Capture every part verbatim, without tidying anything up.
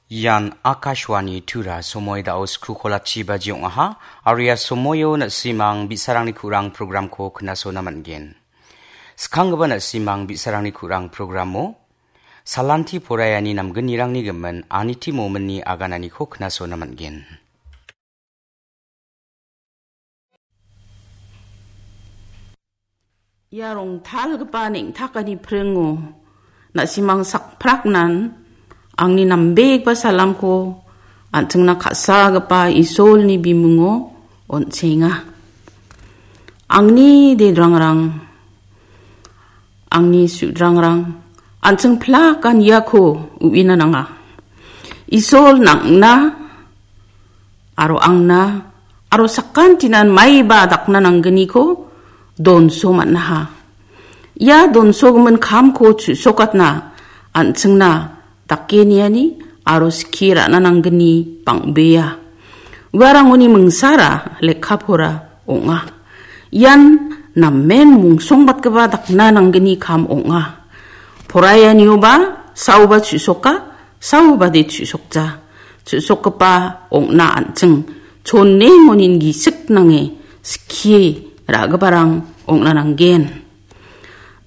Ian Akashvani Tura, somoi da·o sku kolachi baji ong·aha, aro ia somoio na·simang bi·sarangni ku·rang programko knasona man·gen. Skanggipa na·simang bi·sarangni ku·rang programo Salanti poraiani namgnirangni gimin Aniti Mominni agananiko knasona man·gen. Ia rongtalgipa neng·takani pringo na·simang sakpraknan angni nambegipa salamko an·chingna ka·sagipa Isolni bimingo on·chenga. Angni dedrangrang, angni sudrangrang, an·ching plakan iako uina nanga. Isol nang·na aro angna aro sakantinan maiba dakna nanggniko donso man·aha. Ia donsogimin kamko chu·sokatna an·chingna dake niani aro skie ra·na nanggni bang·bea. Uarangoni mingsara lekka pora ong·a. Ian namen mungsongbatgipa dakna nanggni kam ong·a. Poraianioba saoba chu·soka, saobade chu·sokja. Chu·sokgipa ong·na an·ching chonengonin gisik nange skie ra·giparang ong·na nanggen.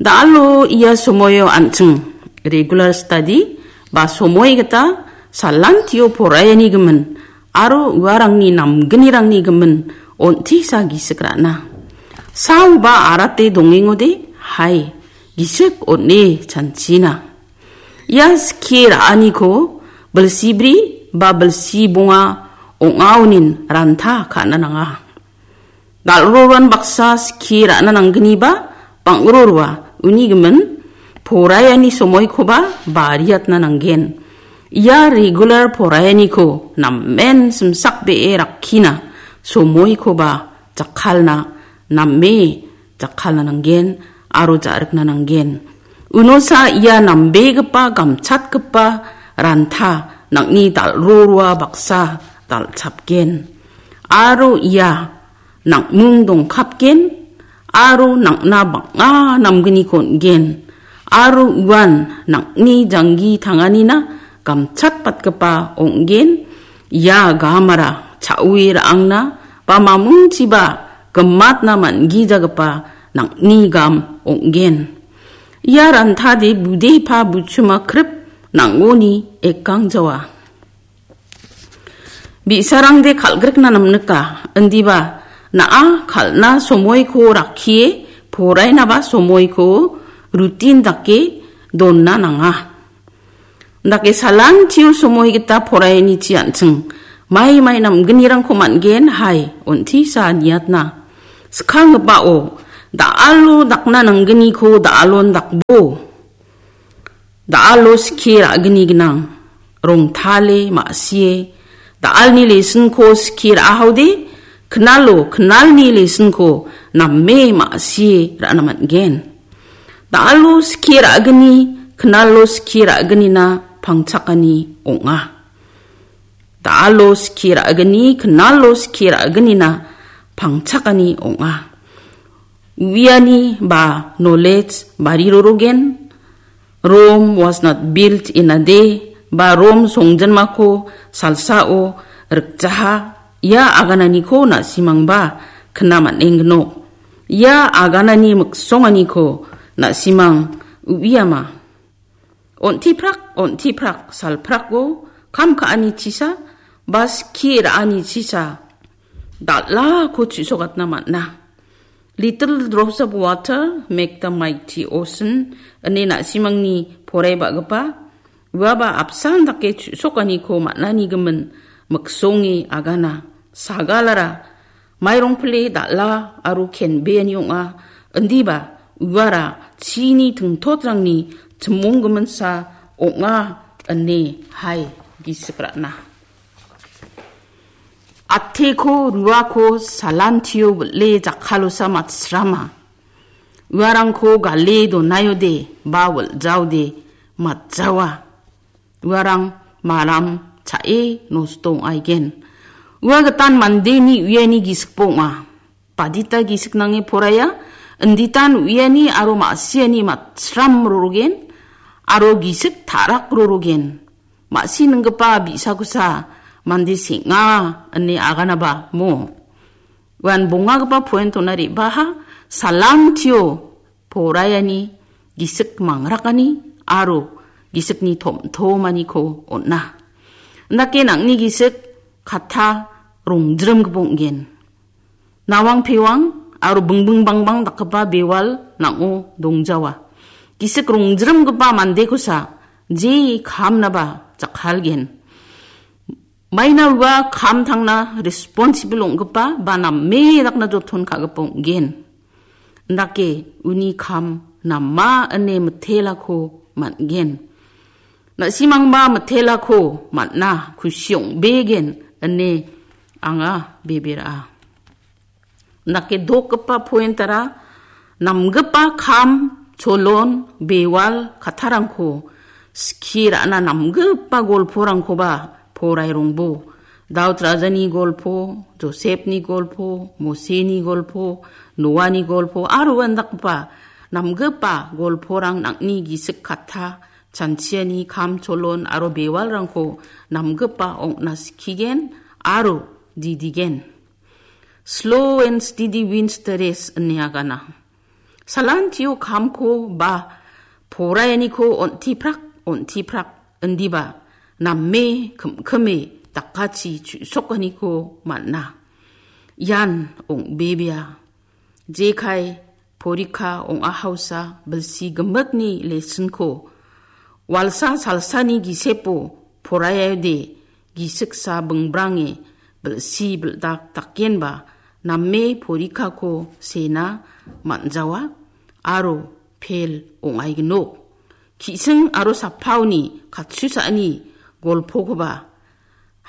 Da·alo ia somoio an·ching regular study ba somoi gita salantio poraiani gimin aro uarangni namgnirangni gimin on·tisa gisik ra·na. Saoba arate dongengode, hai, gisik on·e chanchina. Ia skie ra·aniko bilsibri ba bilsibonga ong·aonin ranta ka·na nanga. Dal·roroan baksa skie ra·na nanggniba bang·roroa uni gimin poraiani somoikoba bariatna nanggen. Ia regular poraianiko namen simsakbee rakkina somoikoba jakkalna name jakkalna nanggen aro ja·rikna nanggen. Unosa ia nambegipa gamchatgipa ranta nang·ni dal·roroa baksa dal·chapgen. Aro ia nang·mung dongkapgen, aro nang·na bang·a namgniko on·gen, aro uan nang·ni janggi tanganina gamchatbatgipa ong·gen, ia gamara cha·ue ra·angna ba mamungchiba gimatna man·gijagipa nang·ni gam ong·gen. Ia rantade budepa buchuma krip nang·oni ekangjawa. Bi·sarangde kal·grikna namnika, indiba na·a kal·na somoiko rakkie porainaba somoiko rutin dake donna nanga. Dake salantio somoi gita porainichi an·ching mai mai namgnirangko man·gen, hai, on·tisa niatna. Skanggipao da·alo dakna nanggniko da·alon dakbo. Da·alo skie ra·gni gnang. Rongtale ma·sie. Da·alni lesonko skie ra·ahaode, knalo, knalni lesonko name ma·sie ra·na man·gen. Da·alo skie ra·gni, knalo skie ra·gnina pangchakani ong·a. Da·alo skie ra·gni, knalo skie ra·gnina pangchakani ong·a. Uiani ba knowledge barirorogen, Rome was not built in a day, ba Rom songjinmako salsao rikjaha, ia agananiko na·simangba kna man·engnok. Ia aganani miksonganiko na·simang uiama. On·tiprak, on·tiprak, salprako kam ka·ani chisa, ba skie ra·ani chisa, dal·ako chu·sokatna man·a. Little drops of water make the mighty ocean, ine na·simangni poraibagipa, uaba apsan dake chu·sokaniko man·ani gimin miksonge agana. Sagalara mairongpile dal·a aro kenbeani ong·a, indiba uara chini tingtotrangni chimonggiminsa ong·a ine hai gisik ra·na. Ateko ruako salantio wil·e jakkalosa matsrama. Uarangko gale donaiode ba wil·jaode matjawa. Uarang maram cha·e nosto ong·aigen. Ua gitan mandeni uiani gisik ong·a. Badita gisik nange poraiya, inditan uiani aro ma·siani matsram rorogen, aro gisik ta·rak rorogen. ma·sininggipa bi·sakosa mande seng·a ine aganaba mo. Uan bongagipa pointona re·baha salantio poraiani gisik mangrakani aro gisikni tom-tomaniko on·a. Indake nang·ni gisik katta rongjrimgipa ong·gen. Nawang pewang aro bingbing bangbang dakgipa bewal nang·o dongjawa. Gisik rongjrimgipa mandekosa je kamnaba jakkalgen. Maina ua kam tangna responsible ong·gipa ba name dakna joton ka·gipa ong·gen. Indake uni kam nama ine mitelako man·gen. Na·simangba mitelako man·a kusi ong·begen ine anga bebera. Indake dokgipa pointara namgipa kam, cholon, bewal, kattarangko skie ra·na namgipa golporangkoba porairongbo. Daud rajani golpo, Josepni golpo, Moseni golpo, Noani golpo, aro uandakgipa namgipa golporang nang·ni gisik katta, chanchiani kam cholon aro bewalrangko namgipa ong·na skigen aro didigen. Slow and steady wins the race ine agana. Salantio kamko ba poraianiko on·tiprak, on·tiprak indiba name kim·kime dakachi chu·sokaniko man·a. Ian ong·bebea. Jekai porika ong·a hausa bilsi gimikni lesson-ko walsa salsani gisepo poraiode gisiksa bingbrange bilsi bildak dakenba name porikako sena man·jawa aro pel ong·aignok. Ki·sing aro sapaoni katsusaani golpokoba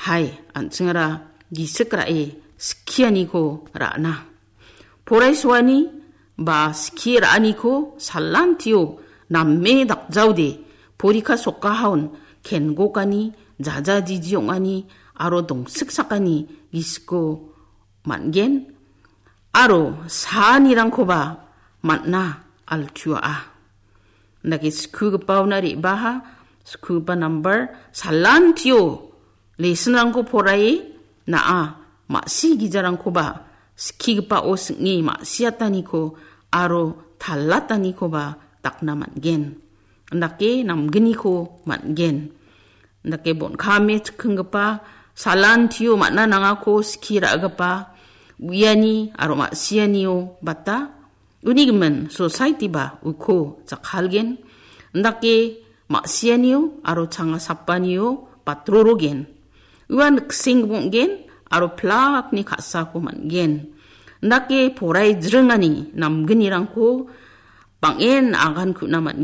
hai an·chingara gisik ra·e skianiko ra·na. Poraisoani ba skie ra·aniko salantio name dakjaode porika sokkahaon kengokani, jajajiji ong·ani aro dongsiksakani gisiko man·gen aro saanirangkoba man·a altua·a. Indake skugipaona re·baha, skugipa nambar, salantio lesson-rangko poraie na·a ma·si gijarangkoba skigipao sing·e ma·siataniko aro talatanikoba dakna man·gen. Indake namgniko man·gen. Indake bon·kame chikinggipa, salantio man·a nangako skie ra·gipa, uiani aro ma·sianio bata, uni gimin society-ba uko jakkalgen. Indake ma·sianio aro changa sapanio batrorogen. Ua nikseng bong·gen aro plakni ka·sako man·gen. Indake porai jringani namgnirangko bang·en agan ku·na man·gen.